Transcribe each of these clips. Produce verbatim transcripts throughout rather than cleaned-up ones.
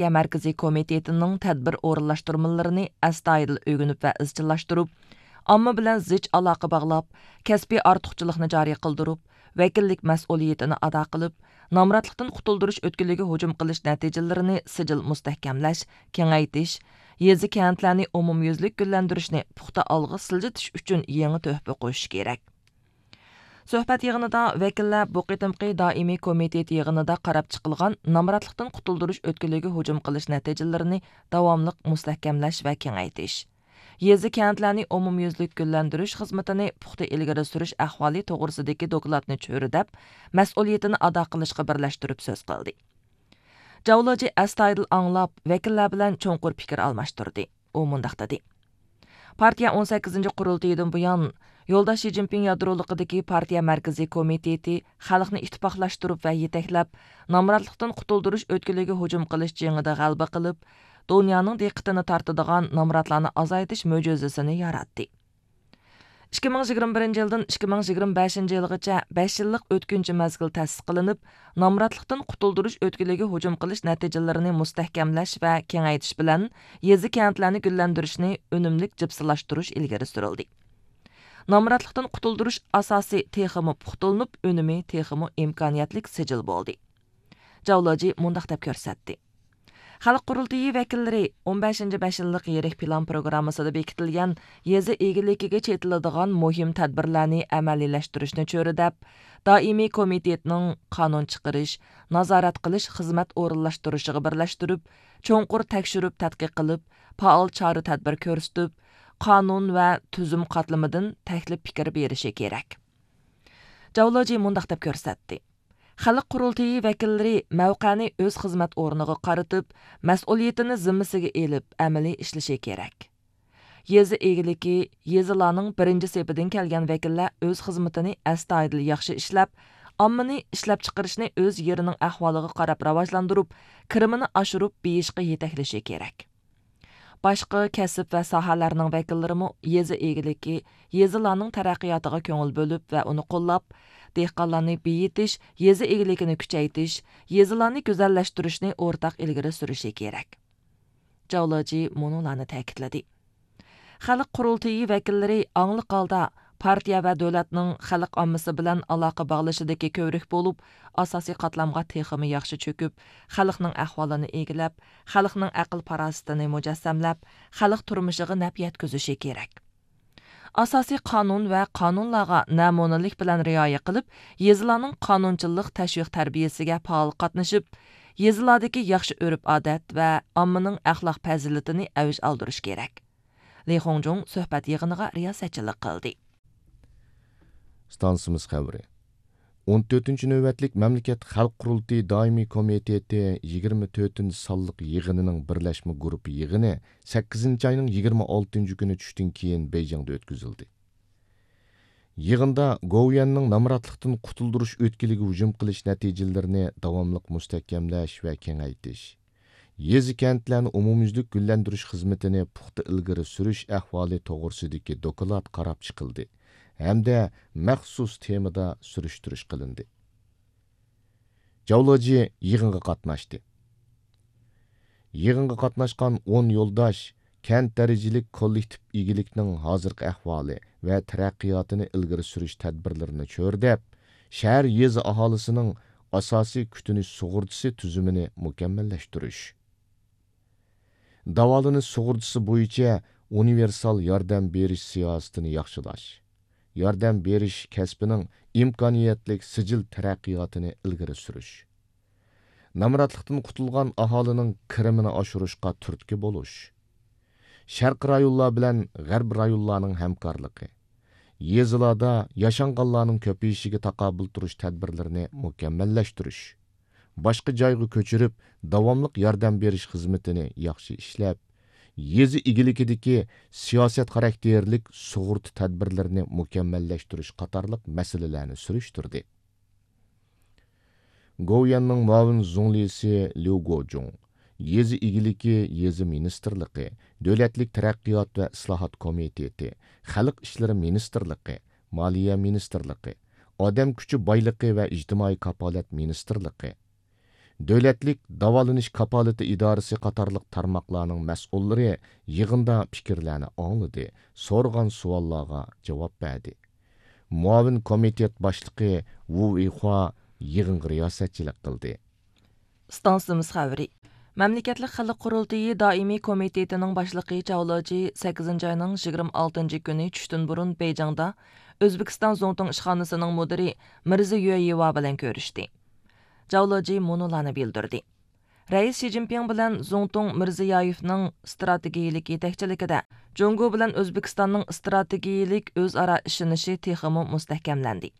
پارتىيە مەركىزىي كومىتېتىنىڭ تەدبىر ئورۇنلاشتۇرمىلىرىنى ئەستايىدىل ئۆگىنىپ ۋە ئىزچىللاشتۇرۇپ، ئامما بىلەن زىچ ئالاقە باغلاپ، كەسپىي ئارتۇقچىلىقنى جارى قىلدۇرۇپ، ۋەكىللىك مەسئۇلىيىتىنى ئادا قىلىپ، نامراتلىقتىن قۇتۇلدۇرۇش ئۆتكىلىگە ھۇجۇم قىلىش نەتىجىلىرىنى سىجىل مۇستەھكەملەش، كېڭەيتىش، يېزا، كەنتلەرنى ئومۇميۈزلۈك گۈللەندۈرۈشنى پۇختا ئالغا سىلجىتىش ئۈچۈن يېڭى تۆھپە قوشۇش كېرەك. سۆھبەت يىغىنىدا ۋەكىللەر بۇ قېتىمقى دائىمىي كومىتېت يىغىنىدا قاراپ چىقىلغان نامراتلىقتىن قۇتۇلدۇرۇش ئۆتكىلىگە ھۇجۇم قىلىش نەتىجىلىرىنى داۋاملىق مۇستەھكەملەش ۋە كېڭەيتىش، يېزا، كەنتلەرنى ئومۇميۈزلۈك گۈللەندۈرۈش خىزمىتىنى پۇختا ئىلگىرى سۈرۈش ئەھۋالى توغرىسىدىكى دوكلاتنى چۆرىدەپ، مەسئۇلىيىتىنى ئادا قىلىشقا بىرلەشتۈرۈپ سۆز قىلدى. جاۋلىجى ئەستايىدىل ئاڭلاپ، ۋەكىللەر بىلەن چوڭقۇر پىكىر ئالماشتۇردى. ئۇ مۇنداق دېدى: پارتىيە ئون سەككىزىنچى قۇرۇلتىيىدىن بۇيان، يولداش شى جىنپىڭ يادرولۇقىدىكى پارتىيە مەركىزىي كومىتېتى خەلقنى ئىتتىپاقلاشتۇرۇپ ۋە يېتەكلەپ، نامراتلىقتىن قۇتۇلدۇرۇش ئۆتكىلىگە ھۇجۇم قىلىش جېڭىدە غەلىبە قىلىپ، دۇنيانىڭ دىققىتىنى تارتىدىغان نامراتلارنى ئازايتىش مۆجىزىسىنى ياراتتى. ئىككى مىڭ يىگىرمە بىرىنچى يىلدىن ئىككى مىڭ يىگىرمە بەشىنچى يىلغىچە بەش يىللىق ئۆتكۈنچى مەزگىل تەسىس قىلىنىپ، نامراتلىقتىن قۇتۇلدۇرۇش ئۆتكىلىگە ھۇجۇم قىلىش نەتىجىلىرىنى مۇستەھكەملەش ۋە كېڭەيتىش بىلەن يېزا، كەنتلەرنى گۈللەندۈرۈشنى ئۈنۈملۈك جىپسىلاشتۇرۇش ئىلگىرى سۈرۈلدى. نامراتلىقتىن قۇتۇلدۇرۇش ئاساسى تېخىمۇ پۇختىلىنىپ، ئۈنۈمى تېخىمۇ ئىمكانىيەتلىك سىجىل بولدى. جاۋلىجى مۇنداق دەپ كۆرسەتتى: خەلق قۇرۇلتىيى ۋەكىللىرى ئون بەشىنچى بەش يىللىق يىرىك پىلان پروگراممىسىدا بېكىتىلگەن يېزا ئىگىلىكىگە چېتىلىدىغان مۇھىم تەدبىرلەرنى ئەمەلىيلەشتۈرۈشنى چۆرىدەپ، دائىمىي كومىتېتنىڭ قانۇن چىقىرىش، نازارەت قىلىش خىزمەت ئورۇنلاشتۇرۇشىغا بىرلەشتۈرۈپ، چوڭقۇر تەكشۈرۈپ تەتقىق قىلىپ، پائال چارە تەدبىر كۆرسىتىپ، قانۇن ۋە تۈزۈم قاتلىمىدىن تەكلىپ پىكىر بېرىشى كېرەك. جاۋلىجى مۇنداق دەپ كۆرسەتتى: خەلق قۇرۇلتىيى ۋەكىللىرى مەۋقەنى ئۆز خىزمەت ئورنىغا قارىتىپ، مەسئۇلىيىتىنى زىممىسىگە ئېلىپ، ئەمەلىي ئىشلىشى كېرەك. يېزا ئىگىلىكى، يېزىلارنىڭ بىرىنچى سېپىدىن كەلگەن ۋەكىللەر ئۆز خىزمىتىنى ئەستايىدىل ياخشى ئىشلەپ، ئاممىنى ئىشلەپچىقىرىشنى ئۆز يېرىنىڭ ئەھۋالىغا قاراپ راۋاجلاندۇرۇپ، كىرىمىنى ئاشۇرۇپ بېيىشقا يېتەكلىشى كېرەك. باشقا كەسىپ ۋە ساھەلەرنىڭ ۋەكىللىرىمۇ يېزا ئىگىلىكى، يېزىلارنىڭ تەرەققىياتىغا كۆڭۈل بۆلۈپ ۋە ئۇنى قوللاپ، دېھقانلارنى بېيىتىش، يېزا ئىگىلىكىنى كۈچەيتىش، يېزىلارنى گۈزەللەشتۈرۈشنى ئورتاق ئىلگىرى سۈرۈشى كېرەك. جاۋلىجى مۇنۇلارنى تەكىتلىدى: خەلق قۇرۇلتىيى ۋەكىللىرى ئاڭلىق ھالدا پارتىيە ۋە دۆلەتنىڭ خەلق ئاممىسى بىلەن ئالاقە باغلىشىدىكى كۆۋرۈك بولۇپ، ئاساسىي قاتلامغا تېخىمۇ ياخشى چۆكۈپ، خەلقنىڭ ئەھۋالىنى ئىگىلەپ، خەلقنىڭ ئەقىل-پاراسىتىنى مۇجەسسەملەپ، خەلق تۇرمۇشىغا نەپ يەتكۈزۈشى كېرەك. ئاساسىي قانۇن ۋە قانۇنلارغا نەمۇنىلىك بىلەن رىئايە قىلىپ، يېزىلارنىڭ قانۇنچىلىق تەشۋىق تەربىيەسىگە پائال قاتنىشىپ، يېزىلاردىكى ياخشى ئۆرپ-ئادەت ۋە ئاممىنىڭ ئەخلاق پەزىلىتىنى ئەۋج ئالدۇرۇش كېرەك. لى خۇڭجۇڭ سۆھبەت يىغىنىغا رىياسەتچىلىك قىلدى. ئىستانسىمىز خەۋىرى. ئون تۆتىنچى نۆۋەتلىك مەملىكەت خەلق قۇرۇلتىيى دائىمىي كومىتېتى يىگىرمە تۆتىنچى سانلىق يىغىنىنىڭ بىرلەشمە گۇرۇپپا يىغىنى سەككىزىنچى ئاينىڭ يىگىرمە ئالتىنچى كۈنى چۈشتىن كېيىن بېيجىڭدا ئۆتكۈزۈلدى. يىغىندا گوۋۇيۈەننىڭ نامراتلىقتىن قۇتۇلدۇرۇش ئۆتكىلىگە ھۇجۇم قىلىش نەتىجىلىرىنى داۋاملىق مۇستەھكەملەش ۋە كېڭەيتىش، يېزا، كەنتلەرنى ئومۇميۈزلۈك گۈللەندۈرۈش خىزمىتىنى پۇختا ئىلگىرى سۈرۈش ئەھۋالى توغرىسىدىكى دوكلات قاراپ چىقىلدى ھەمدە مەخسۇس تېمىدا سۈرۈشتۈرۈش قىلىندى. جاۋلىجى يىغىنغا قاتناشتى. يىغىنغا قاتناشقان ئون يولداش كەنت دەرىجىلىك كوللېكتىپ ئىگىلىكنىڭ ھازىرقى ئەھۋالى ۋە تەرەققىياتىنى ئىلگىرى سۈرۈش تەدبىرلىرىنى چۆرىدەپ، شەھەر، يېزا ئاھالىسىنىڭ ئاساسىي كۈتۈنۈش سۇغۇرتىسى تۈزۈمىنى مۇكەممەللەشتۈرۈش، داۋالىنىش سۇغۇرتىسى بويىچە ئۇنىۋېرسال ياردەم بېرىش سىياسىتىنى ياخشىلاش، ياردەم بېرىش كەسپىنىڭ ئىمكانىيەتلىك سىجىل تەرەققىياتىنى ئىلگىرى سۈرۈش، نامراتلىقتىن قۇتۇلغان ئاھالىنىڭ كىرىمىنى ئاشۇرۇشقا تۈرتكە بولۇش، شەرقىي رايونلار بىلەن غەربىي رايونلارنىڭ ھەمكارلىقى، يېزىلاردا ياشانغانلارنىڭ كۆپىيىشىگە تاقابىل تۇرۇش تەدبىرلىرىنى مۇكەممەللەشتۈرۈش، باشقا جايغا كۆچۈرۈپ، داۋاملىق ياردەم بېرىش خىزمىتىنى ياخشى ئىشلەپ، يېزا ئىگىلىكىدىكى سىياسەت خاراكتېرلىك سۇغۇرتا تەدبىرلىرىنى مۇكەممەللەشتۈرۈش قاتارلىق مەسىلىلەرنى سۈرۈشتۈردى. گوۋۇيۈەننىڭ مۇئاۋىن زۇڭلىسى ليۇ گوجۇڭ، يېزا ئىگىلىكى، يېزا مىنىستىرلىقى، دۆلەتلىك تەرەققىيات ۋە ئىسلاھات كومىتېتى، خەلق ئىشلىرى مىنىستىرلىقى، مالىيە مىنىستىرلىقى، ئادەم كۈچى بايلىقى ۋە ئىجتىمائىي كاپالەت مىنىستىرلىقى، دۆلەتلىك داۋالىنىش كاپالىتى ئىدارىسى قاتارلىق تارماقلارنىڭ مەسئۇللىرى يىغىندا پىكىرلەرنى ئاڭلىدى، سورىغان سوئاللارغا جاۋاب بەردى. مۇئاۋىن كومىتېت باشلىقى ۋۇ ئىخۇا يىغىنغا رىياسەتچىلىك قىلدى. ئىستانسىمىز خەۋىرى. مەملىكەتلىك خەلق قۇرۇلتىيى دائىمىي كومىتېتىنىڭ باشلىقى چاۋ لېجى سەككىزىنچى ئاينىڭ يىگىرمە ئالتىنچى كۈنى چۈشتىن بۇرۇن بېيجىڭدا ئۆزبېكىستان زۇڭتۇڭ ئىشخانىسىنىڭ مۇدىرى مىرزا يۈەيىۋا بىلەن كۆرۈشتى. چاۋ لېجى مۇنۇلارنى بىلدۈردى: رەئىس شى جىنپىڭ بىلەن زۇڭتۇڭ مىرزىيايېۋنىڭ ئىستراتېگىيىلىك يېتەكچىلىكىدە جۇڭگو بىلەن ئۆزبېكىستاننىڭ ئىستراتېگىيىلىك ئۆزئارا ئىشىنىشى تېخىمۇ مۇستەھكەملەندى.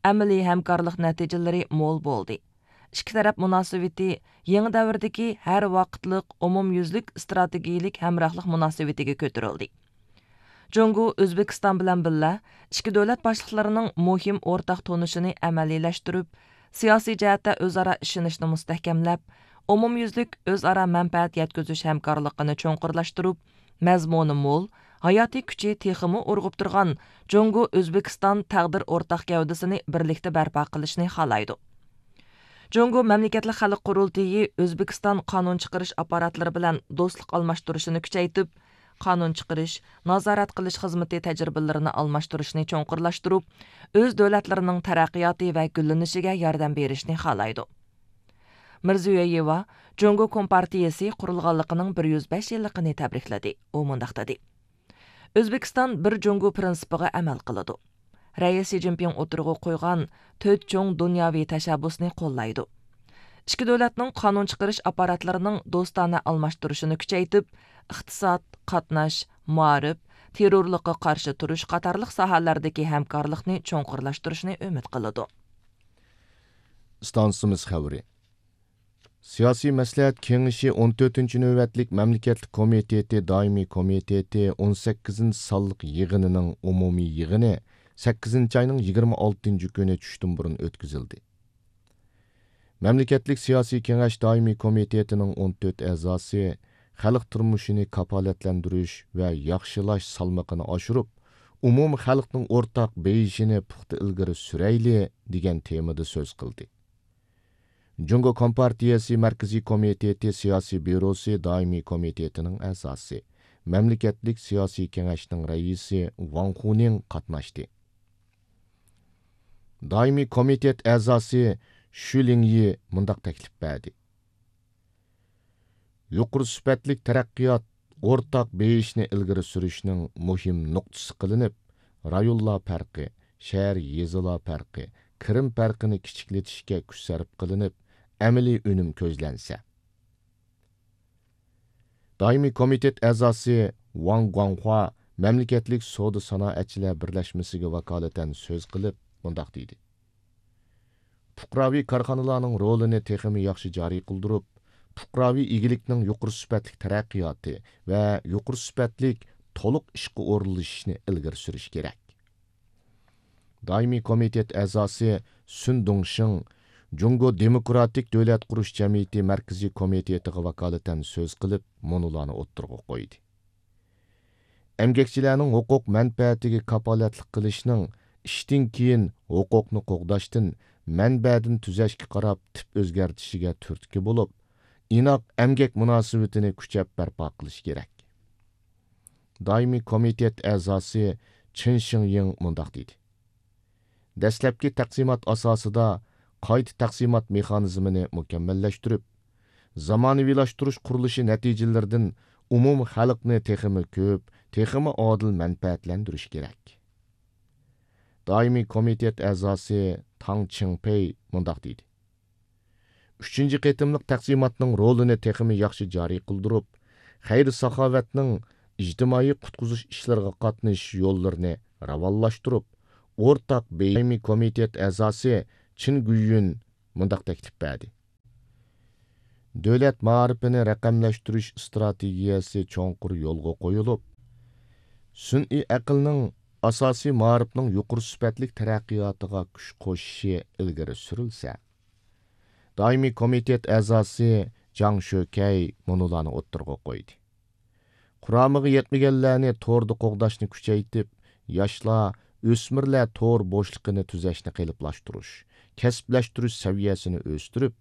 ئەمەلىي ھەمكارلىق نەتىجىلىرى مول بولدى. ئىككى تەرەپ مۇناسىۋىتى يېڭى دەۋردىكى ھەر ۋاقىتلىق ئومۇميۈزلۈك ئىستراتېگىيىلىك ھەمراھلىق مۇناسىۋىتىگە كۆتۈرۈلدى. جۇڭگو ئۆزبېكىستان بىلەن بىللە، ئىككى دۆلەت باشلىقلىرىنىڭ مۇھىم ئورتاق تونۇشىنى ئەمەلىيلەشتۈرۈپ، سىياسىي جەھەتتە ئۆزئارا ئىشىنىشنى مۇستەھكەملەپ، ئومۇميۈزلۈك ئۆزئارا مەنپەئەت يەتكۈزۈش ھەمكارلىقىنى چوڭقۇرلاشتۇرۇپ، مەزمۇنى مول، ھاياتىي كۈچى تېخىمۇ ئۇرغۇپ تۇرغان جۇڭگو ئۆزبېكىستان تەقدىر ئورتاق گەۋدىسىنى بىرلىكتە بەرپا قىلىشنى خالايدۇ. جۇڭگو مەملىكەتلىك خەلق قۇرۇلتىيى ئۆزبېكىستان قانۇن چىقىرىش ئاپپاراتلىرى بىلەن دوستلۇق ئالماشتۇرۇشىنى كۈچەيتىپ، قانۇن چىقىرىش، نازارەت قىلىش خىزمىتى تەجرىبىلىرىنى ئالماشتۇرۇشنى چوڭقۇرلاشتۇرۇپ، ئۆز دۆلەتلىرىنىڭ تەرەققىياتى ۋە گۈللىنىشىگە ياردەم بېرىشنى خالايدۇ. مىرزىيۆيېۋا جۇڭگو كومپارتىيىسى قۇرۇلغانلىقىنىڭ بىر يۈز بەش يىللىقىنى تەبرىكلىدى. ئۇ مۇنداق دېدى: ئۆزبېكىستان بىر جۇڭگو پىرىنسىپىغا ئەمەل قىلىدۇ. رەئىس شى جىنپىڭ ئوتتۇرىغا قويغان تۆت چوڭ دۇنياۋى تەشەببۇسنى قوللايدۇ. ئىككى دۆلەتنىڭ قانۇن چىقىرىش ئاپپاراتلىرىنىڭ دوستانە ئالماشتۇرۇشىنى كۈچەيتىپ، ئىقتىساد، قاتناش، مائارىپ، تېررورلۇققا قارشى تۇرۇش قاتارلىق ساھەلەردىكى ھەمكارلىقنى چوڭقۇرلاشتۇرۇشنى ئۈمىد قىلىدۇ. ئىستانسىمىز خەۋىرى. سىياسىي مەسلىھەت كېڭىشى ئون تۆتىنچى نۆۋەتلىك مەملىكەتلىك كومىتېتى دائىمىي كومىتېتى ئون سەككىزىنچى سانلىق يىغىنىنىڭ ئومۇمىي يىغىنى سەككىزىنچى ئاينىڭ يىگىرمە ئالتىنچى كۈنى چۈشتىن بۇرۇن ئۆتكۈزۈلدى. مەملىكەتلىك سىياسىي كېڭەش دائىمىي كومىتېتىنىڭ ئون تۆت ئەزاسى خەلق تۇرمۇشىنى كاپالەتلەندۈرۈش ۋە ياخشىلاش سالمىقىنى ئاشۇرۇپ، ئومۇمىي خەلقنىڭ ئورتاق بېيىشىنى پۇختا ئىلگىرى سۈرەيلى، دېگەن تېمىدا سۆز قىلدى. جۇڭگو كومپارتىيەسى مەركىزىي كومىتېتى سىياسىي بيۇروسى دائىمىي كومىتېتىنىڭ ئەزاسى، مەملىكەتلىك سىياسىي كېڭەشنىڭ رەئىسى ۋاڭ خۇنىڭ قاتناشتى. دائىمىي كومىتېت ئەزاسى شۈ لىڭيى مۇنداق تەكلىپ بەردى: يۇقىرى سۈپەتلىك تەرەققىيات ئورتاق بېيىشنى ئىلگىرى سۈرۈشنىڭ مۇھىم نۇقتىسى قىلىنىپ، رايونلار پەرقى، شەھەر، يېزىلار پەرقى، كىرىم پەرقىنى كىچىكلىتىشكە كۈچ سەرپ قىلىنىپ، ئەمەلىي ئۈنۈم كۆزلەنسە. دائىمىي كومىتېت ئەزاسى ۋاڭ گۇاڭخۇا مەملىكەتلىك سودا سانائەتچىلەر بىرلەشمىسىگە ۋاكالىتەن سۆز قىلىپ، مۇنداق دېدى: پۇقراۋى كارخانىلارنىڭ رولىنى تېخىمۇ ياخشى جارى قىلدۇرۇپ، پۇقراۋى ئىگىلىكنىڭ يۇقىرى سۈپەتلىك تەرەققىياتى ۋە يۇقىرى سۈپەتلىك تولۇق ئىشقا ئورۇنلىشىشنى ئىلگىرى سۈرۈش كېرەك. دائىمىي كومىتېت ئەزاسى سۈن دۇڭشىڭ جۇڭگو دېموكراتىك دۆلەت قۇرۇش جەمئىيىتى مەركىزىي كومىتېتىغا ۋاكالىتەن سۆز قىلىپ، مۇنۇلارنى ئوتتۇرىغا قويدى: ئەمگەكچىلەرنىڭ ھوقۇق مەنپەئەتىگە كاپالەتلىك قىلىشنىڭ ئىشتىن كېيىن ھوقۇقنى قوغداشتىن، مەنبەدىن تۈزەشكە قاراپ تىپ ئۆزگەرتىشىگە تۈرتكە بولۇپ، ئىناق ئەمگەك مۇناسىۋىتىنى كۈچەپ بەرپا قىلىش كېرەك. دائىمىي كومىتېت ئەزاسى چېن شىڭيىڭ مۇنداق دېدى: دەسلەپكى تەقسىمات ئاساسىدا قايتا تەقسىمات مېخانىزمىنى مۇكەممەللەشتۈرۈپ، زامانىۋىلاشتۇرۇش قۇرۇلۇشى نەتىجىلىرىدىن ئومۇمىي خەلقنى تېخىمۇ كۆپ، تېخىمۇ ئادىل مەنپەئەتلەندۈرۈش كېرەك. دائىمىي كومىتېت ئەزاسى تاڭ چىڭپېي مۇنداق دېدى: ئۈچىنچى قېتىملىق تەقسىماتنىڭ رولىنى تېخىمۇ ياخشى جارى قىلدۇرۇپ، خەير-ساخاۋەتنىڭ ئىجتىمائىي قۇتقۇزۇش ئىشلىرىغا قاتنىشىش يوللىرىنى راۋانلاشتۇرۇپ، ئورتاق بېيىمى كومىتېت ئەزاسى چىن گۈيۈن مۇنداق تەكلىپ بەردى: دۆلەت مائارىپىنى رەقەملەشتۈرۈش ئىستراتېگىيەسى چوڭقۇر يولغا قويۇلۇپ، سۈنئىي ئەقىلنىڭ ئاساسىي مائارىپنىڭ يۇقىرى سۈپەتلىك تەرەققىياتىغا كۈچ قوشۇشى ئىلگىرى سۈرۈلسە، دائىمىي كومىتېت ئەزاسى جاڭ شۆكەي مۇنۇلارنى ئوتتۇرىغا قويدى: قۇرامىغا يەتمىگەنلەرنى توردا قوغداشنى كۈچەيتىپ، ياشلار، ئۆسمۈرلەر تور بوشلۇقىنى تۈزەشنى قېلىپلاشتۇرۇش، كەسىپلەشتۈرۈش سەۋىيەسىنى ئۆستۈرۈپ،